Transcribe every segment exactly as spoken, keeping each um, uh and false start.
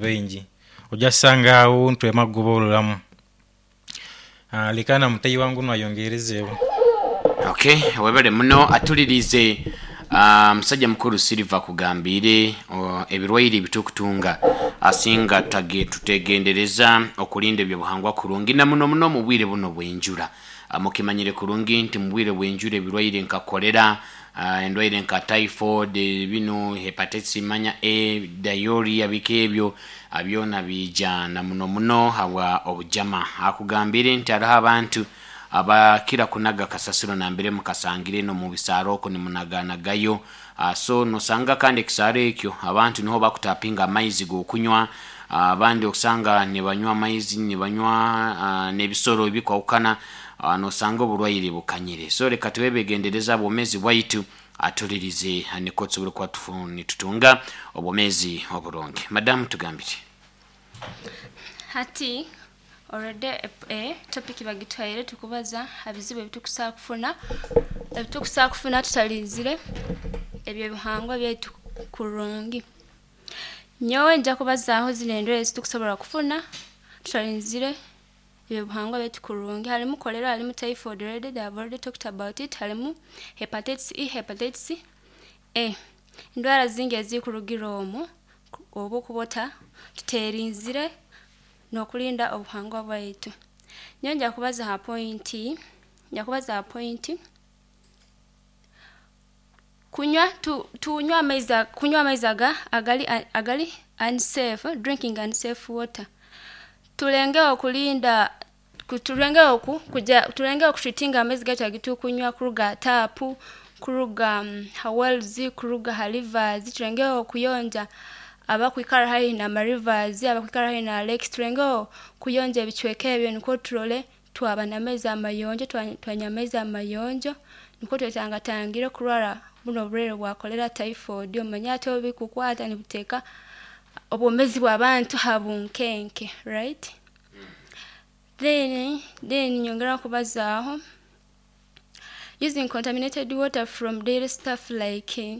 Baingi ojja sanga awo ntwema kugobololamu. Ah, leka na mutayi wange onu ayongerezeewo. Okay, webale muno atulirize. ah, musajja mukulu Silver kugambire oh, ebirwaire bitukutunga asinga tage tutegendereza okulinda ebyobuhangwa kurungi, na muno muno mu bwire buno bwenjura. Ah, mukimanyire kurungi nti mu bwire bwenjura ebirwaire nka kolera, ah, endwaire nka typhoid, bino hepatitis manya A, diarrhea, biki ebyo, ah, byona bija na muno muno habwa obujama. Akugambire nti hariho abantu abakira kunaga kasasiro nambere mukasangire no mu bisaaro oko nimunaganagayo. Ah, so nosanga kandi ekisaaro ekyo abantu niho bakutapinga amaizi g'okunywa. Ah, abandi okusanga nibanywa amaizi, nibanywa ah, n'ebisoro ebikwahukana. ah, nosanga oburwaire bukanyire. So reka twebegendereza obwomezi bwaitu, atulirize, niko tusobole kuba tufu- nitutunga obwomezi oburungi. Madamu, tugambire. Hati already e, topic bagitwaire, tukubaza ha bizibu ebitukusaa kufuna ebitukusaa kufuna tutalinzire ebyo ebihangwa byaitu kurungi. Nyowe nja kubazaaho zino endwaire ezitukusobora kufuna tutalinzire ebyo ebihangwa byaitu kurungi. Harimu cholera, harimu typhoid, already they have already talked about it, harimu hepatitis E, hepatitis A, endwara zingi ezikurugira omwo oba okuba ota tuterinzire n'okulinda obuhangwa bwaitu. Nyowe nja kubaza ha point nja kubaza ha point kunywa tu, tunywa amaizi kunywa amaizi aga agali agali unsafe, drinking unsafe water. Tulengeho kulinda, tulengeho ku, kuja tulengeho kutreatinga amaizi gaitu agitukunywa kuruga tap, kuruga um, ha wells, kuruga ha rivers. Tulengeho kuyonja abakwikara haihi na rivers, abakwikara haihi na lakes. Tulengeho kuyonja ebicweka ebyo nikwo turole twaba n'amaizi amayonjo, twanywa amaizi amayonjo, nikwo twetangatangire kurwara buno oburwaire bwa cholera, typhoid. Omanye ate obu bikukwata nibuteeka obwomezi bw'abantu ha bunkenke, right? then then nyongera kubazaaho using contaminated water from daily stuff, like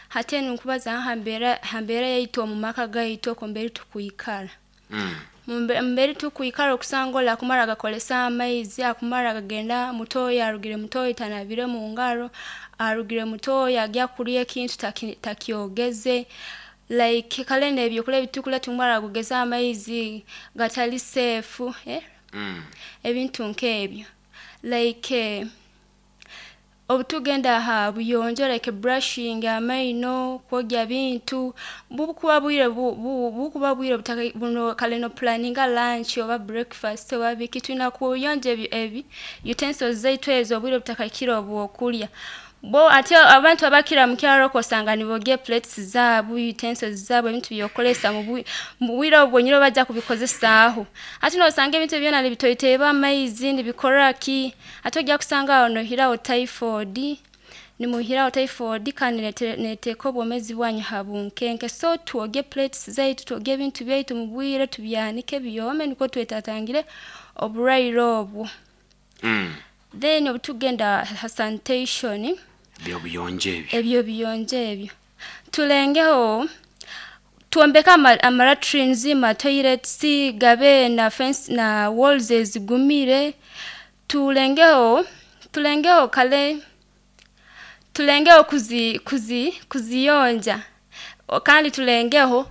hati enu nkubaza ha mbeera ha mbeera yaitu omu maka gaitu, okwo mbere tukwikara. Mm. Mumbe- mbere tukwikara okusanga oli akumara agakolesa amaizi, akumara agagenda mutoyi, arugire mutoyi tanabire mu ngaro, arugire mutoyi agya kulya ekintu taki- takyogeze, like kale n'ebyokulya ebitukulya tumara kugeza amaizi gatali safe, eh? Mm. Ebintu nk'ebyo, like eh, obutugenda ha buyonjo, like brushing amaino, kwogya bintu, bukuba bwire bu- bu- bukuba bwire butaka buno kale no planninga lunch oba breakfast oba biki, tulina kuyonja ebi, ebi utensils zaitu ezo obwire butakakira obwokulya bo. Ate abantu abakira mu kyaro okosanga nibogya plates zaabu, utensils zaabu, ebintu byokolesa mu bwi- mu bwire obwo bwonyini bajja kubikozesaaho. Ate nosanga ebintu byona nibitoiteeba amaizi, nibikora ki, ate ojja kusanga awo nohirawo typhoid, nimuhirawo typhoid, kandi nete- neteeka obwomezi bwanyu ha bunkenke. So twogye plates zaitu, twogye ebintu byaitu mu bwire, tubyanike byome, nikwo twetatangire oburwaire obwo. Mm. Then obutugenda ha sanitation, byobuyonjo ebyo. Ebyo biyonjo ebyo, tulengeho twombeke ama, ama latrines, ma toilets gabe na fence na walls ezigumire. tulengeho tulengeho kale tulengeho kuzi kuzi kuziyonja. O- kandi tulengeho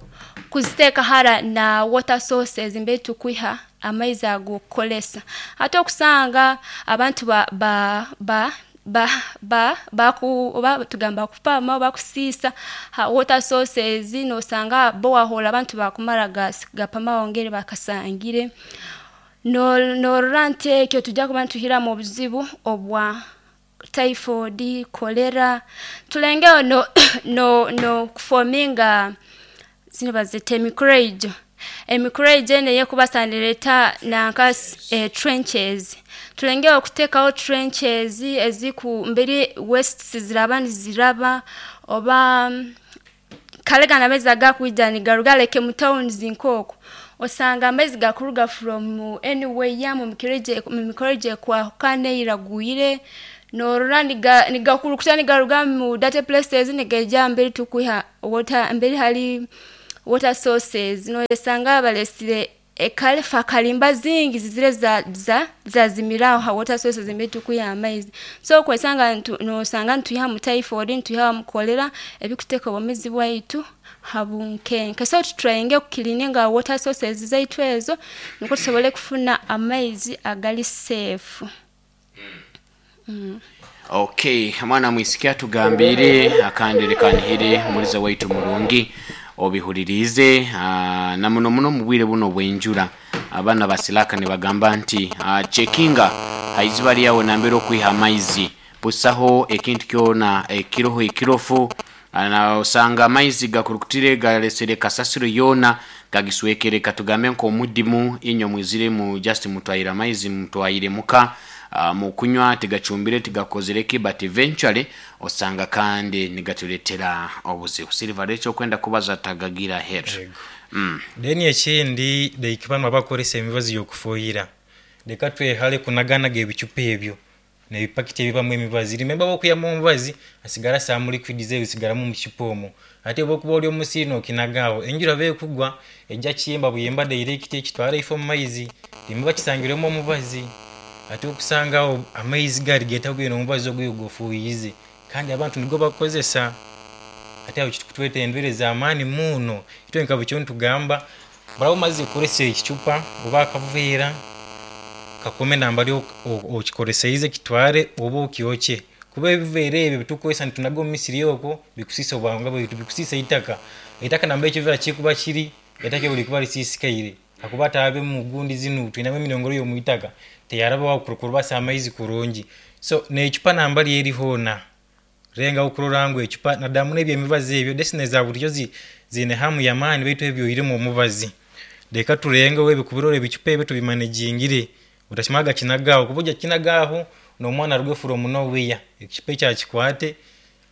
kuziteeka hara na water sources mbe tukwiha amaizi ag'okukolesa. Ate okusanga abantu ba ba ba ba ba baku oba tugamba kupama, bakusiisa ha water sources. Nosanga borehole abantu bakumara gas gapamaho ngeri bakasangire. No- norora nti ekyo tujja kuba nituhiramu obuzibu obwa typhoid, cholera. Tulengeho no no no kuforminga zino bazita emikureijo emikureijo eno eyekubasa nereta nanka eh, trenches. Tulengeho okuteekaho trenches eziku mberi wastes ziraba niziraba oba mm, kale gano amaizi agakwija nigaruga like mu towns nk'okwo, osanga amaizi gakuruga from anywhere mu mikurejo mu mikurejo ekwahukana eiragwire. Norora niga nigakurukuta nigaruga mu dirty places nigaija mberi tukwiha water, mberi hali Water sources noyesanga balesire ekalefa kalimba zingi zizire za za zazimiraho ha water sources emituku ya amaizi. So kwesanga ntu nosanga ntuya mu typhoid, ntuya mu cholera, ebikuteka obumizi bwaitu habunkenke. So tutryinge kucleaninga water sources zaitu ezo niko tusobole kufuna amaizi agali safe. Mm. Okay, mwana mwisikia tugambire akandire kanihire muliza waitu murungi obihulirize, uh, na muno muno mu bwire buno bwenjura abaana basilaka ne bagamba nti uh, checkinga haiziba lyawe nambere okwiha amaizi busaho ekintu kyona ekiroho ekirofu, na osanga amaizi gakurukutire galesere kasasiro yona gagiswekere. Katugambe nk'omudimu inyo mwizire mu just mutwaire amaizi mutwaire muka, uh, mukunywa tigacumbire tigakozereki, but eventually osanga kandi nigatuletera obuzibu. Silver ekyo okwenda kubaza tagagira head. Mm. Then ekindi like bano abakozesa emibazi y'okufuuyira, leka twehale kunaganaga ebicupa ebyo nebipakiti ebibamu emibazi. Remember bwokuyamu omubazi asigala some liquids ebisigalamu mu kicupa omwo, ate bwokuba oli omusiri nokinagaawo enjura beekugwa ejja kiyemba buyemba direct ekitwara ifo mu maizi, remember kisangirwemu omubazi. Ate okusangawo amaizi gali getabwire omubazi ogwo gofuuyize kandi abantu nigo bakozesa, ate awo kitukutweta endwire z'amaani muno. Itwe nka bukyo ntugamba baraba omaze kukozesa ekicupa oba akaveera kakome nambari okikoleseize kitware oba okyokye, kuba ebiveera ebyo bitukozesa nitunaga omu misiri okwo bikusisa obwanga bwaitu, bikusisa eitaka. Eitaka namba ekiveera kikuba kiri eitaka ebyo likuba lisisikaire akuba taabe mu gundi zinu twinamu eminongoro y'omuitaka teyaraba kurubasa amaizi kurungi. So n'ecupa nambari eri hoona renga okurora ngu ecupa nadamu n'ebyo emibazi ebyo desine za bulijjo ziine hamu y'amaani baitu ebyo irimu omubazi. Leka turengeho ebikubirora ebicupa ebyo tubimanagingire, utakimaga kinagaaho kuba ojja kinagaaho n'omwana aruge from nowhere ekicupa ekyo akikwate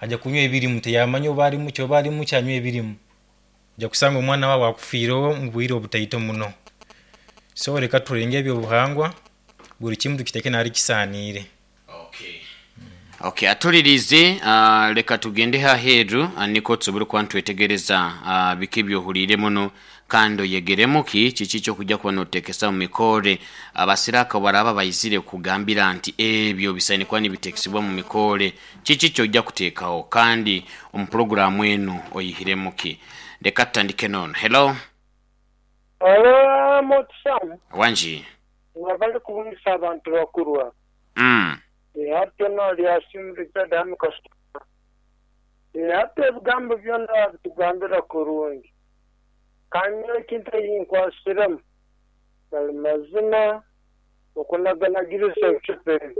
ajja kunywa ebirimu teyamanya oba arimu ki oba arimu ki anywa ebirimu, ojja kusanga omwana waawe akufiireho mu bwire obutaito muno. So leka turenge ebyobuhangwa buli kimu tukiteeke nari kisaaniire. Okay. Okay, atulirize, uh, leka tugende haheeru uh, niko tusobole kuba ntwetegereza uh, biki byohuliire muno kandi oyegeremu ki kiki kyokujja kuba notekesa mu mikore. Abasiraka baraba bayizire kugambira nti ebyo bisaine kuba nibitekesebwa mu mikore, kiki kyojja kuteekawo kandi omu puroguramu eno oyihiremu ki. Leka tutandike nono. Hello. Hello, Motsam. Wanji. Wabali kubungisa abantu bakurwa. Mm. Hati no lyasimu Richard Hamikasita. Hati ebigambo byonna bitugambira kurungi. Kandi ekintu eyinkwasiremu bali mazima okunaganagiriza ebicupa ebi.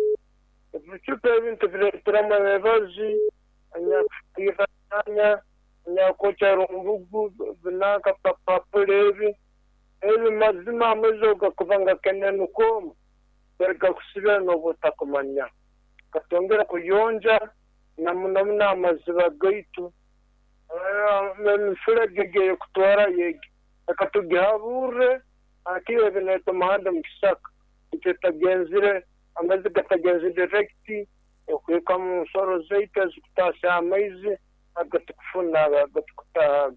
Ebicupa ebi ntubireeteramu emibazi, anyakufiiranya, anyakwokya rumbugu, binanka papapula ebi. Ebi mazima amaizi ogakuba nga kenenuka omu gakusibira n'oba otakumanya. Katwongera kuyonja na muno muno amaziba gaitu emifurege eyekutwara yegi reka tugihaburre akiwe bineeta omuhanda mu kisaka itwe tagenzire amaizi gatagenzire direct okuhika mu nsoro zaitu ezikutaasya amaizi agatukufuna agatukutaaga.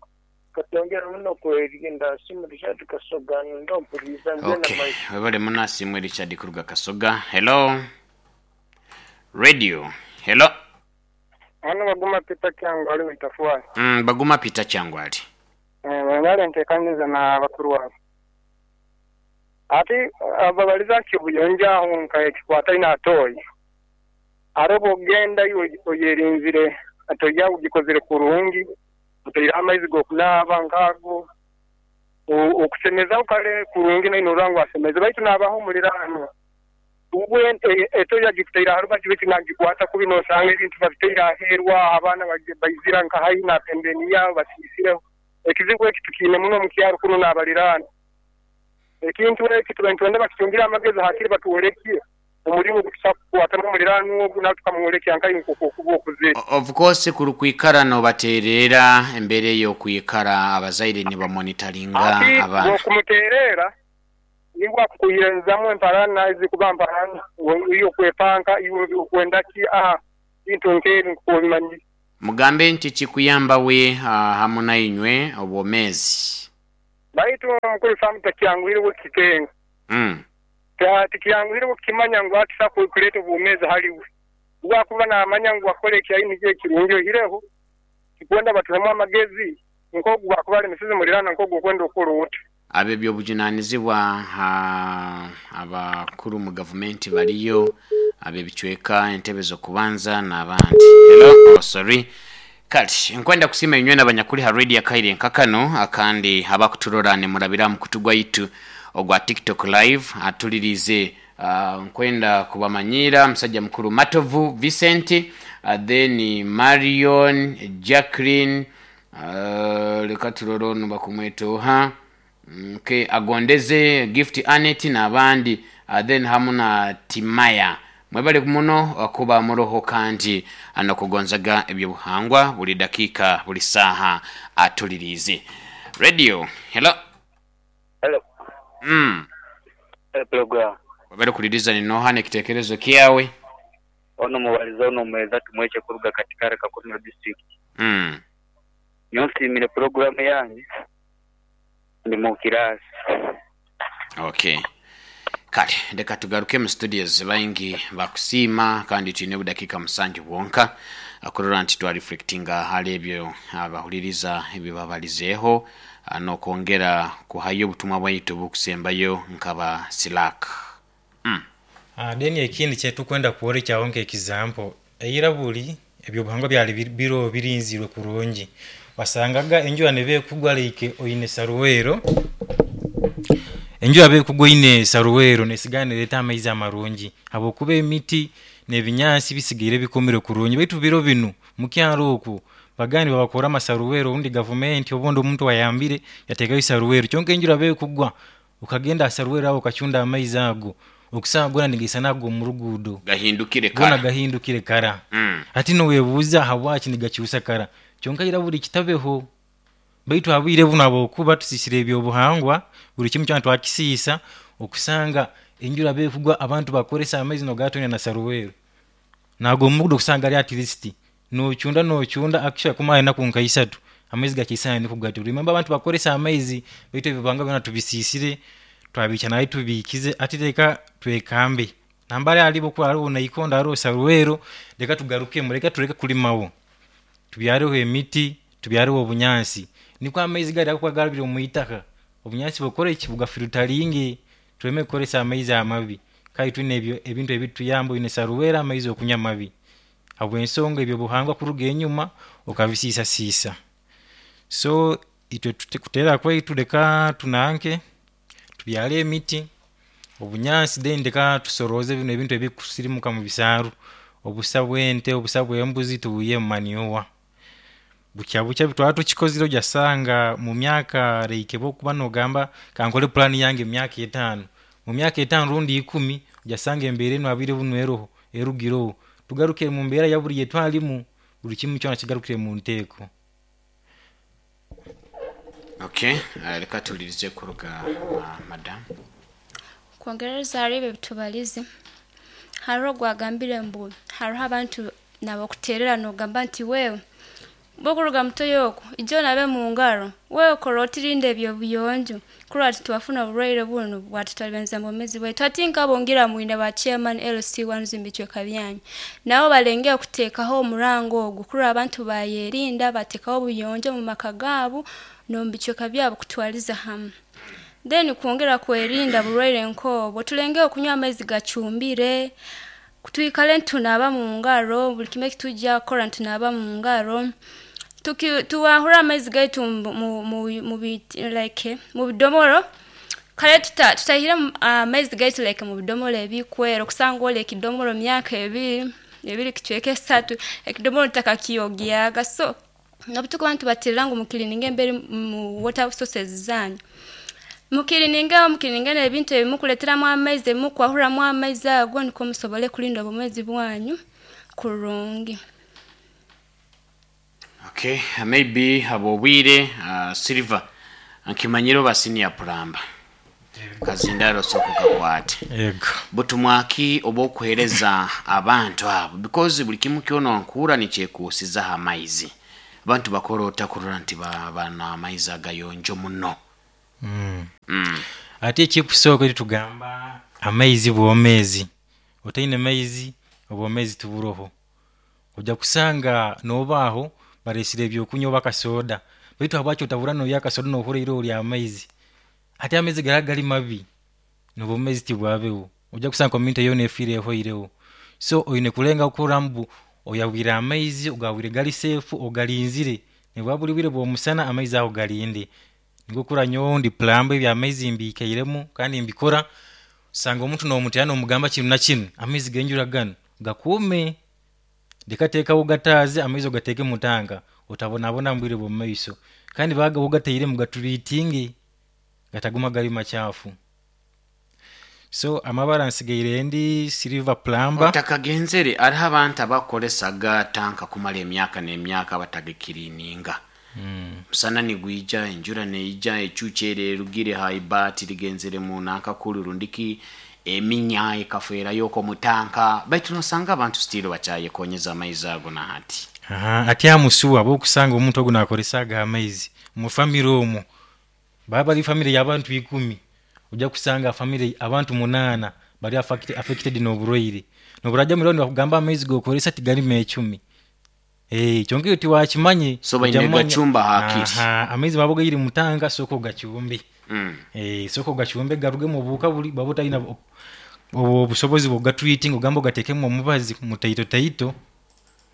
Katwongera muno kwerinda. Simu Richard Kasoga ndompuriza ngena. Okay, webale muno Asiimwe Richard kuruga Kasoga. Hello. Radio. Hello. Hano Baguma Peter Kyangwali witafuwa. Mm, Baguma Peter Kyangwali. Eh, bale ntekaniza na bakuru wabo. Ati ababaliza kibuyonja aho nka ekikwata ina atoyi. Arobo genda oyerinzire atoya ugikozere kurungi utaira amaizi gokunaaba nkago okusemeza ukale kurungi naino rangu asemeze baitu nabaho mulirano ubwe etoya gikutaira haruba kibiti nagikwata kubi nosanga ebintu babiteira aherwa abaana baizira nka hayi na pembeni yabo basisireho ekizibu eki tukiine muno mu kyaro kuno n'abalirano ekintu eki tubentwende bakitungira amagezi hakiri batuwolekie omulimu gutusakukwata n'omulirano ogu natukamwolekya nkayi nkokuba okuze. Of course kurukwikara nobaterera embere y'okwikara abazaire ni bamonitoringa abaana okumuterera nibwa kukuyirenzamu emparana ezikuba mparana iyo kwepanka iyo okwenda ki aha bintu nk'ebi nkubimanyi. Mugambe nti kikuyamba we uh, hamu nainywe obwomezi. Baitu mukuru Samu takyanguhire kukikenga. Mm. Tikyanguhire kukimanya ngu akisa kuleta obwomezi haliwe. Bwakuba namanya ngu akole ekyaini kye kirungi ohireho kikwenda batuhemu amagezi nkogu bwakuba ali misizi mulirana nkogu okwenda okukora oti. Abe byobujunanizibwa abakuru mu gavumenti baliyo abe bicweka entebe z'okubanza n'abandi. Hello, oh, sorry. Kati nkwenda kusima inywe n'abanyakuli ha radio Kaire nkakano akandi abakuturora ne murabira mu kutugwa itu ogwa TikTok live atulirize. Uh, nkwenda kubamanyira musajja mukuru Matovu Vincent, uh, then Marion Jacqueline, uh, leka turoro nubakumwetoha okay, agondeze Gift Anet n'abandi, uh, then hamu na Timaya. Mwebale muno kuba muroho kandi anokugonzaga ebyobuhangwa buli dakika buli saha atulirize. Radio, hello. Hello. Mm. Hello program. Wabere kuliriza ni noha nekitekerezo kiawe. Ono mubaliza ono mweza tumweche kuruga katika Kakumiro district. Mm. Nyonsi mire program yanyu ndi mu kirasi. Okay. Kale ndeka tugaruke mu studios baingi bakusima kandi tine budakika musanju bwonka akurora nti twa reflectinga hali ebyo abahuliriza ebibabalizeho nokongera kuhayo obutumwa bwaitu bukusembayo nkaba Silak. Mm. Ah, deni ekindi kyetu kwenda kuwore kyawonke example eira buli ebyo buhangwa byali biro birinzirwe kurungi wasangaga enjura nebe kugwa like oyine saruwero enjura be kugwa ine saruwero nesigane leta amaizi amarungi habwokuba emiti nebinyansi bisigaire bikomire kurungi baitu biro binu mukyaro oku bagani babakora amasaruwero undi government obondo omuntu wayambire yatekayo saruwero kyonka enjura be kugwa ukagenda asaruwero aho ukachunda amaizi ago okusagura nigisa nago mu rugudo gahindukire kara gona gahindukire kara mm. Ati no webuza habwachi nigacyusa kara kyonka ira buri kitabeho baitu habwire buno abokuba tusisire ebyo buhangwa buri kimwe cyantu twakisisa okusanga enjura be kugwa abantu bakoresa amaizi no gatonya na saruwero nago mugudo kusanga ali at least no chunda no chunda akisha kumaye na kunka isatu amaizi gakisana nikugati remember abantu bakoresa amaizi baitu ebibanga byona tubisisire twabicha naye tubikize atireka twekambe nambare alibo kwa alibo na ikonda aro saruwero leka tugaruke mureka tureke kulimawo tubyareho emiti tubyareho obunyansi niko amaizi gari akwagarabira mu itaka obunyansi bukore kibuga filteringi tureme kukoresa amaizi amabi kai twine ebyo ebintu ebituyambo ine saruwera amaizi okunya mabi habwensonga ebyo buhangwa kuruga enyuma okabisisa sisa so itwe tutekutera kwaitu leka tunanke tubyale emiti obunyansi then ndeka tusoroze bino ebintu ebikusirimuka mu bisaaru obusa bwente obusa bwembuzi tubuye mu manyowa bucha bucha bitwara tukikozire ojasanga mu myaka reike bokuba nogamba kankole plan yange myaka etano mu myaka etano rundi ikumi ojasanga embere no abire bunweroho erugiro tugaruke mu mbera ya buri yetwalimu buri kimwe cyona kigarukire mu nteko. Okay, reka tulirize kuruga uh, madam. Kwongereza haribe bitubalize hariho gwagambire mbu hariho abantu nabakuterera nogamba nti wewe bokuruga mutoyoko ijo nabe mu ngaro wewe korotirinde ebyo buyonjo kurwa twafuna oburwaire buno bwatutalibanza mu mezi bwe twatinka bongira mwine ba chairman L C one zimbichwe kabyanyu nabo balengea kutekaho omurango ogwo kurwa abantu bayerinda batekaho obuyonjo mu maka gabo no mbichweka byabo kutwaliza hamwe. Then kuongera kwerinda burwaire nkobo tulenge okunywa amaizi gachumbire kutuikale ntunaba mu ngaro buli kimwe kitujja kora ntunaba mu ngaro tuki tuwahura amaizi gaitu mu mu, mu like mu bidomoro kale tuta tutahira amaizi gaitu like mu bidomoro ebikwero kusanga ole kidomoro myaka ebiri ebiri kichweke esatu ekidomoro takakiyogyaga so nobutuko abantu batirira ngo mukilininge embere mu water sources zanyu mukilininge mukilininge ebintu ebimukuleteramu amaizi mukwahuramu amaizi ago niko musobole kulinda obumezi bwanyu kurungi. Okay, maybe abo bwire uh, Silver nkimanyiro ba senior plumber Kazindaro soko kakwate. Yego. Butumwaki obwokuhereza abantu abo, because buli kimu kyona nkuura nikyekuusizaho amaizi. Abantu bakora otakurora nti ba- bana amaizi agayonjo muno. Mm. Mm. Ate ekikusooka tugamba amaizi bwomezi, otaine maizi obwomezi tuburoho. Ojja kusanga nobaaho baresire ebyokunywa oba akasoda, baitu habwaki otabura noya akasoda nohura iroho lya amaizi? Ate amaizi gara gali mabi, nobwomezi tibwabeho. Ojja kusanga community yoona efiire ehoireho. So oine kulenga kurora mbu oyahwire amaizi, ogahwire gali safe, ogalinzire, nibwa buli bwire bw'omusana amaizi ago galinde. Nikwo kurora nyowe ndi plumber, ebyamaizi mbikairemu kandi mbikora. Osanga omuntu nomutera nomugamba kinu na kinu, amaizi g'enjura ganu gakuume, leka teekaho gataaze amaizi ogateeke mu tanka, otabonabona mu bwire bw'omu maiso. Kandi baga ogatairemu gaturiitinge, gataguma gali macaafu. So amabara nsigaire ndi Silver Plumber. Otakagenzere, hariho abantu abakoresaga tanka kumara emyaka n'emyaka batagikirininga. Mm. Musana nigwija, enjura neija, ecucu ere erugire ha ibaati rigenzere mu nankakulu rundiki eminya ekafeerayoko mu tanka, baitu nosanga abantu still bakyayekonyeza amaizi ago nahati. Aha, ati amusuwa bwokusanga omuntu ogu nakoresaga amaizi mu famire omwo, baba bali famire y'abantu ikumi, ojja kusanga famire abantu munaana bali affected, affected n'oburwaire. Noburaja mwirwariro nibakugamba amaizi gokoresa tigalimu ecumi. Eh, kyonka iwe tiwakimanye. So baine ojja manya- gacumba hakiri. Aha, amaizi baba gaire mu tanka, sooka ogacumbe. Mm. Eh, sooka ogacumbe garugemu obuhuka buli bwaba otalina bu- obwo obusobozi bw'ogatreating, ogamba ogateekemu omubazi mutaito taito,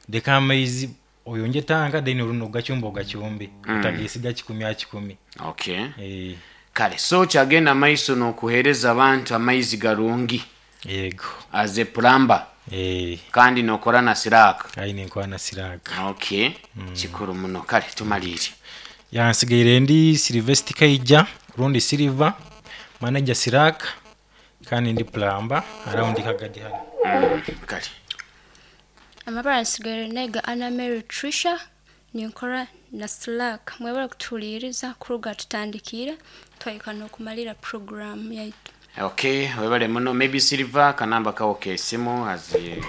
leka amaizi oyonje tanka, then orundi ogacumba ogacumbe. Mm. Otagesiga kikumi ha kikumi. Okay. Eh, Kale so kyagenda maiso n'okuheereza abantu amaizi garungi. Yego. As a plumber. Eh, kandi nokora na siraka. Ayi nenkora na siraka. Okay, kikuru muno. Kale tumalire. Yansigaire ndi Silvester Kaija rundi Silver, manager Siraka, kandi ndi plumber around Kagadi hano. Mm. kale. Amabara nsigaire nega Anna Mary Trisha, ninkora na Slack. Mwebale kutuhuliiriza kuruga tutandikire twahika n'okumalira program yaitu. Okay, webale muno. Maybe Silver, kanamba kawo kesimu azi.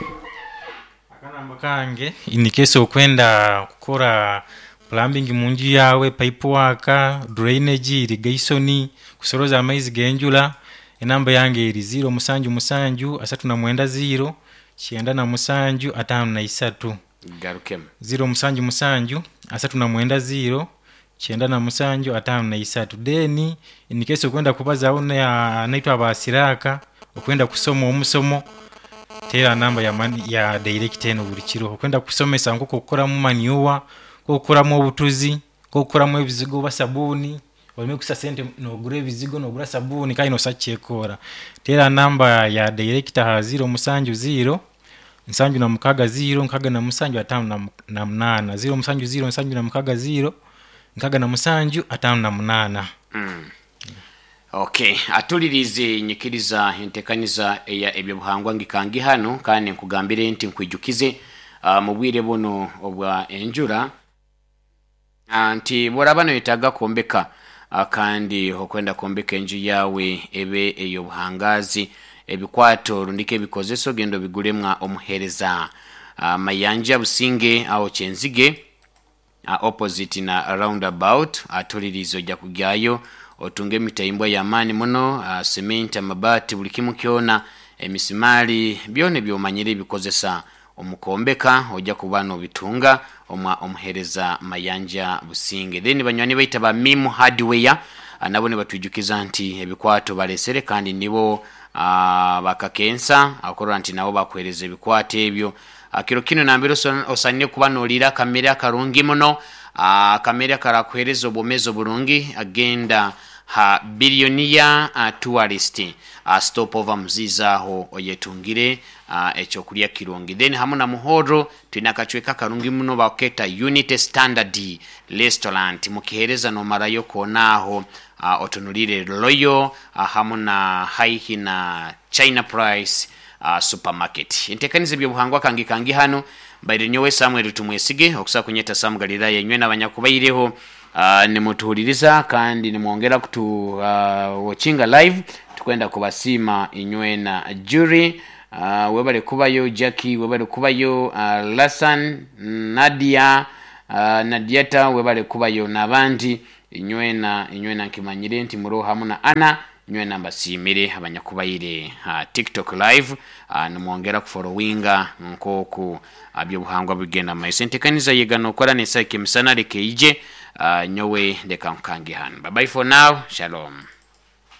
Akanamba kange, in case okwenda kukora plumbing munju yawe, pipe work, drainage, irrigation, kusoroza amaizi g'enjura, enamba yange eri ziro musanju musanju asatu na mwenda ziro kyenda na musanju atano na isatu. Garukemu. Ziro musanju musanju asatu na mwenda ziro kyenda na musanju atano na isatu. Then in case okwenda kubazaho na- naitwe abasiraka, okwenda kusoma omusomo, tera namba ya, mani, ya direct eno buli kiro. Okwenda kusomesa nk'oku okukoramu manure, nk'okukoramu obutuzi, nk'okukoramu ebizigo oba sabuuni, oleme kusa sente nogura ebizigo nogura sabuuni kandi nosa kyekora, tera namba ya direct ha ziro musanju ziro nsanju na mukaga ziro nkaga na musanju atano na mu- na munaana, ziro musanju ziro nsanju na mukaga ziro nkaga na musanju atano na munaana. Mm. Okay, atulirize, nyikiriza entekaniza eya ebyobuhangwa ngikangi hano, kandi nkugambire nti nkwijukize uh, mu bwire buno obwa enjura uh, nti bworaba noyetaaga kwombeka uh, kandi okwenda kwombeka enju yawe ebe ey'obuhangazi, ebikwato rundika ebikozeso genda obigulemwa omuhereza uh, Mayanja Businge awo Kyenzige, uh, opposite na roundabout. Atuliriza, ojja kugyayo otunge emitayimbwa y'amaani muno, uh, cement, amabaati, buli kimu kyona, emisimaali, byona ebyomanyire ebikozesa omukombeka ojja kuba nobitunga omwa omuhereza Mayanja Businge. Then banywani baita ba Mimu Hardware, uh, nabo nibatwijukiza nti ebikwato balesere kandi nibo uh, bakakensa akorora nti nabo bakuhereza ebikwato ebyo. uh, kiro kino nambere osanire kuba nolira akamere akarungi muno, akamere akarakuhereza obwomezi oburungi, agenda ha Billionaire uh, Tourist uh, stopover muziza aho oyetungire uh, ekyokulya kirungi. Then hamu na Muhoro twina akacweka karungi muno baketa Unity Standard Restaurant, mukihereza nomarayo konaaho uh, otunulire Royal uh, hamu na haihi na China Price uh, supermarket. Entekaniza ebyobuhangwa kangi kangi hano, mbaire nyowe Samuel Tumwesige, okusa kunyeta Sam Galilaya, enywe n'abanyakubaireho. uh, nimutuhuliriza kandi nimwongera kutu uh, watchinga live. Tukwenda kubasiima inywena. Jury, uh, webale kubayo. Jackie, webale kubayo. uh, Lasan Nadia, uh, Nadiata, webale kubayo n'abandi inywena. Inywena nkimanyire nti muroho hamu na ana nywena. Mbasiimire abanyakubaire uh, TikTok live, uh, nimwongera kufollowinga nkoku uh, byobuhangwa bigenda maiso. Entekaniza yegana okora nesaika emisana leka ije. uh, nyowe ndeka nkange hanu. Bye bye for now, shalom.